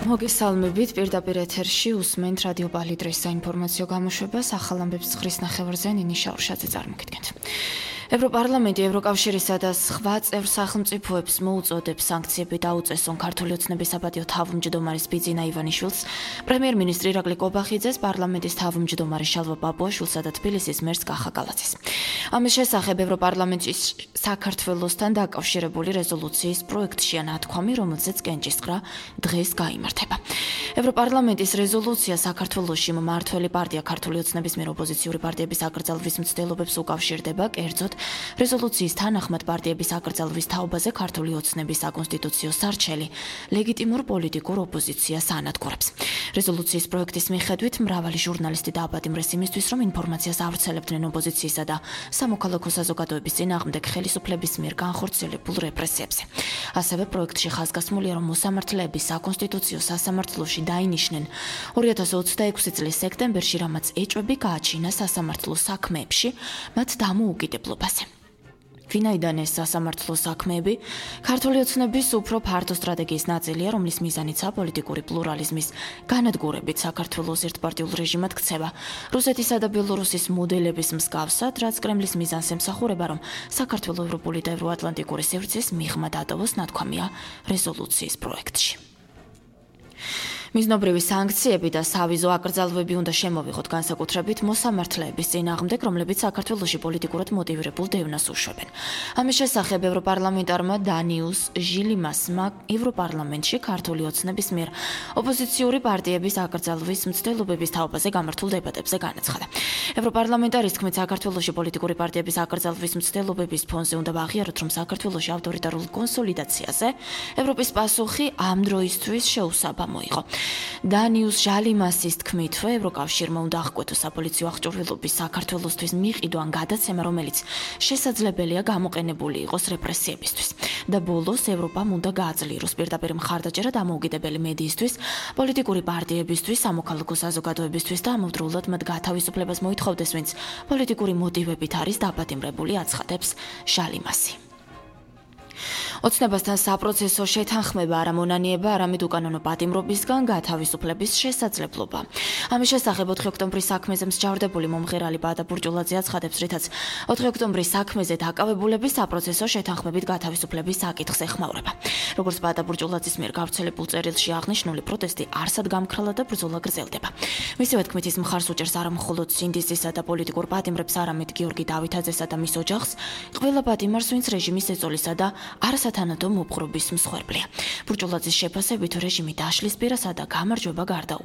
მოგესალმებით, პირდაპირ ეთერში უსმენთ რადიო პალიტრის საინფორმაციო გამოშვებას, ახალ ამბებს ცხრის ნახევარზე ნინი შაურშაძე წარმოგიდგენთ. ევროპარლამენტი ევროკავშირისა და სხვა წევრ სახელმწიფოებს მოუწოდებს სანქციები დაუწესონ ქართული ოცნების საპატიო თავმჯდომარის ბიძინა ივანიშვილს, პრემიერ-მინისტრი ირაკლი კობახიძეს, პარლამენტის თავმჯდომარე შალვა პაპუაშვილსა და თბილისის მერს კახა გალაძეს. ამის შესახებ ევროპარლამენტის საქართველოსთან დაკავშირებული რეზოლუციის პროექტშია ნათქვამი, რომელზეც კენჭისყრა დღეს გაიმართება. ევროპარლამენტის რეზოლუცია საქართველოში მმართველი პარტია ქართული ოცნების მიერ ოპოზიციური პარტიების აკრძალვის მცდელობებს უკავშირდება, კერძოდ რეზოლუციის თანახმად პარტიების აკრძალვის თაობაზე ქართული ოცნების საკონსტიტუციო სარჩელი ლეგიტიმურ პოლიტიკურ ოპოზიციას ანადგურებს. რეზოლუციის პროექტის მიხედვით მრავალი ჟურნალისტი დააპატიმრეს იმისთვის, რომ ინფორმაციას ავრცელებდნენ ოპოზიციისა და სამოქალაქო საზოგადოების წინააღმდეგ ხელისუფლების მიერ განხორციელებულ რეპრესიებზე. ასევე პროექტში ხაზგასმულია, რომ მოსამართლეები საკონსტიტუციო სასამართლოში დაინიშნენ 2026 წლის სექტემბერში, რამაც ეჭვები გააჩინა სასამართლო საქმეებში მათ დამოუკიდებლობაზე. ვინაიდან ეს სასამართლო საქმეები ქართული ოცნების უფრო ფართო სტრატეგიის ნაწილია, რომლის მიზანიცაა პოლიტიკური პლურალიზმის განადგურებით საქართველოს ერთპარტიულ რეჟიმად ქცევა. რუსეთისა და ბელორუსის მოდელების მსგავსად, რაც კრემლის მიზანს ემსახურება, რომ საქართველო ევროპული და ევროატლანტიკური სივრცის მიღმა დატოვოს, ნათქვამია რეზოლუციის პროექტში. მიზნობრივი სანქციები და სავიზო აკრძალვები უნდა შემოვიღოთ განსაკუთრებით მოსამართლეების წინააღმდეგ, რომლებიც საქართველოში პოლიტიკურად მოტივირებულ დევნას უშვებენ. ამის შესახებ ევროპარლამენტარმა დანიუს ჟილიმასმა ევროპარლამენტში ქართული ოცნების მიერ ოპოზიციური პარტიების აკრძალვის მცდელობების თაობაზე გამართულ დებატებზე განაცხადა. ევროპარლამენტარის თქმით, საქართველოში პოლიტიკური პარტიების აკრძალვის მცდელობების ფონზე უნდა ვაღიაროთ, რომ საქართველოში ავტორიტარულ კონსოლიდაციაზე ევროპის პასუხი ამ დროისთვის შეუსაბამო იყო. დანიუს ჟალიმასის თქმითვე, ევროკავშირმა უნდა აღკვეთოს საპოლიციო აღჭურვილობის საქართველოსთვის მიყიდვა ან გადაცემა, რომელიც შესაძლებელია გამოყენებული იყოს რეპრესიებისთვის. და ბოლოს ევროპამ უნდა გააძლიეროს პირდაპირ მხარდაჭერა დამოუკიდებელი მედიისთვის, პოლიტიკური პარტიებისთვის, სამოქალაქო საზოგადოებისთვის და ამავდროულად მათ გათავისუფლებას მოითხოვდეს, ვინც პოლიტიკური მოტივებით არის დაპატიმრებული, აცხადებს ჟალიმასი. ოცნებასთან საპროცესო შეთანხმება არ ამონანიება არამედ უკანონო პატიმრობისგან გათავისუფლების შესაძლებლობა. ამის შესახებ 4 ოქტომბრის საქმეზე მსჯავრდებული მომღერალი ბადა ბურჭულაძე აცხადებს, რითაც 4 ოქტომბრის საქმეზე დაკავებულების საპროცესო შეთანხმებით გათავისუფლების საკითხს ეხმაურება. როგორც ბადა ბურჭულაძის მიერ გავრცელებულ წერილში აღნიშნული, პროტესტი არსად გამქრალა და ბრძოლა გრძელდება. მისივე თქმით, ის მხარს უჭერს არა მხოლოდ სინდისისა და პოლიტიკურ პატიმრებს, არამედ გიორგი დავითაძესა და მის ოჯახს, ყველა პატიმარს, ვინც რეჟიმის ეწოლისა და არასათანადო მოპყრობის მსხვერპლია. ბურჭულაძის შეფასებით რეჟიმი დაშლის პირასა და გამარჯვება გარდაუვალია.